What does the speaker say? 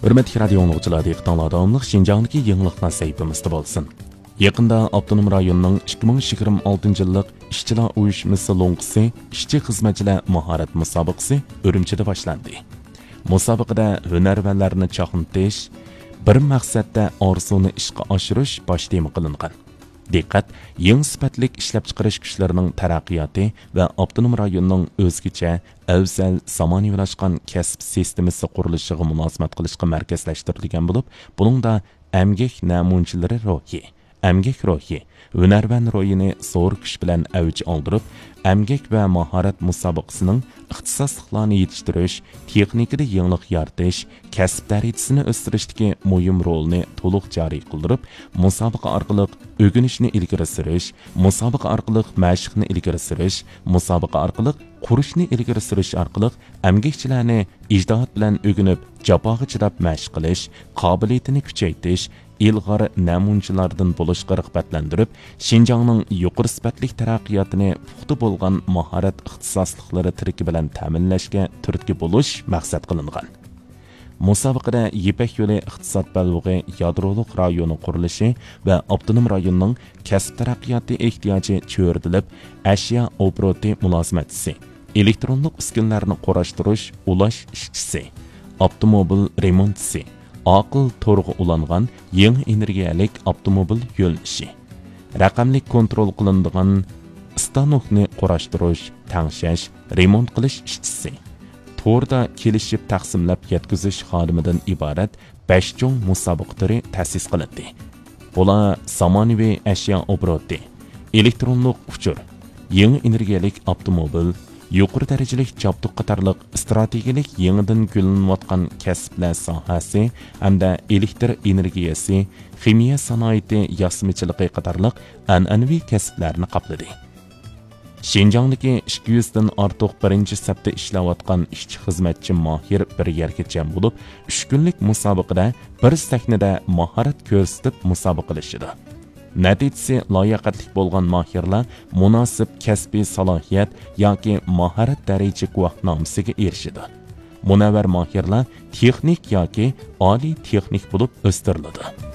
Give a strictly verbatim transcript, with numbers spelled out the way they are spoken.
ھۆرمەتلىك رادىئو ئاڭلىغۇچىلار، دىققىتىڭلاردا داۋاملىق شىنجاڭدىكى يېڭىلىقلار سەھىپىمىزدە بولسۇن. يېقىندا ئاپتونوم رايوننىڭ ئىككى مىڭ يىگىرمە ئالتىنچى يىللىق ئىشچىلار ئۇيۇشمىسى لوڭقىسى ئىشچى خىزمەتچىلەر ماھارەت مۇسابىقىسى ئۈرۈمچىدە باشلاندى. مۇسابىقىدە ھۈنەرۋەنلەرنى چاقنىتىش، بىر مەقسەتتە ئارزۇنى ئىشقا ئاشۇرۇش باش تېما قىلىنغان. دىققەت يېڭى سۈپەتلىك ئىشلەپچىقىرىش كۈچلىرىنىڭ تەرەققىياتى ۋە ئاپتونوم رايوننىڭ ئۆزگىچە، ئەۋزەل، زامانىۋىلاشقان كەسىپ سىستېمىسى قۇرۇلۇشىغا مۇلازىمەت قىلىشقا مەركەزلەشتۈرۈلگەن بولۇپ، بۇنىڭدا ئەمگەك نەمۇنىچىلىرى روھى، ئەمگەك روھى، ھۈنەرۋەن روھىنى زور كۈچ بىلەن ئەۋج ئالدۇرۇپ، ئەمگەك ۋە ماھارەت مۇسابىقىسىنىڭ ئىختىساسلىقلارنى يېتىشتۈرۈش، تېخنىكىدا يېڭىلىق يارىتىش، كەسىپ دەرىجىسىنى ئۆستۈرۈشتىكى مۇھىم رولىنى تولۇق جارى قىلدۇرۇپ، مۇسابىقە ئارقىلىق ئۆگىنىشنى ئىلگىرى سۈرۈش، مۇسابىقە ئارقىلىق مەشىقنى ئىلگىرى سۈرۈش، مۇسابىقە ئارقىلىق قۇرۇشنى ئىلگىرى سۈرۈش ئارقىلىق ئەمگەكچىلەرنى ئىجتىھات بىلەن ئۆگىنىپ، جاپاغا چىداپ مەشىق قىلىش قابىلىيىتىنى كۈچەيتىش، ئىلغار نەمۇنىچىلاردىن بولۇشقا رىغبەتلەندۈرۈپ، شىنجاڭنىڭ يۇقىرى سۈپەتلىك تەرەققىياتىنى پۇختا بولغان ماھارەت ئىختىساسلىقلىرى تىرىكى بىلەن تەمىنلەشكە تۈرتكە بولۇش مەقسەت قىلىنغان. مۇسابىقىدە يىپەك يولى ئىقتىساد بەلبېغى يادرولۇق رايونى قۇرۇلۇشى ۋە ئاپتونوم رايوننىڭ كەسىپ تەرەققىياتى ئېھتىياجى چۆرىدىلىپ، ئەشيا ئوبوروتى مۇلازىمەتچىسى، ئېلېكترونلۇق ئۈسكۈنىلەرنى قۇراشتۇرۇش، ئۇلاش ئىشچىسى، ئاپتوموبىل رېمونتچىسى، ئاقىل تورغا ئۇلانغان يېڭى ئېنېرگىيەلىك ئاپتوموبىل يۆنىلىشى، رەقەملىك كونترول قىلىنىدىغان ئىستانوكنى قۇراشتۇرۇش، تەڭشەش، رېمونت قىلىش ئىشچىسى، توردا كېلىشىپ تەقسىملەپ يەتكۈزۈش خادىمىدىن ئىبارەت بەش چوڭ مۇسابىقە تۈرى تەسىس قىلىندى. بۇلار زامانىۋى ئەشيا ئوبوروتى، ئېلېكترونلۇق ئۇچۇر، يېڭى ئېنېرگىيەلىك ئاپتوموبىل، يۇقىرى دەرىجىلىك جابدۇق قاتارلىق ئىستراتېگىيەلىك يېڭىدىن گۈللىنىۋاتقان كەسىپلەر ساھەسى ھەمدە ئېلېكتر ئېنېرگىيەسى، خىمىيە سانائىتى ياسىمىچىلىقى قاتارلىق ئەنئەنىۋى كەسىپلەرنى قاپلىدى. شىنجاڭدىكى ئىككى يۈزدىن ئارتۇق بىرىنچى سەپتە ئىشلەۋاتقان ئىشچى خىزمەتچى ماھىر بىر يەرگە جەم بولۇپ، ئۈچ كۈنلۈك مۇسابىقىدە بىر سەھنىدە ماھارەت كۆرسىتىپ مۇسابىقىلىشىدۇ. نەتىجىسى لاياقەتلىك بولغان ماھىرلار مۇناسىپ كەسپىي سالاھىيەت ياكى ماھارەت دەرىجە گۇۋاھنامىسىگە ئېرىشىدۇ. مۇنەۋۋەر ماھىرلار تېخنىك ياكى ئالىي تېخنىك بولۇپ ئۆستۈرۈلىدۇ.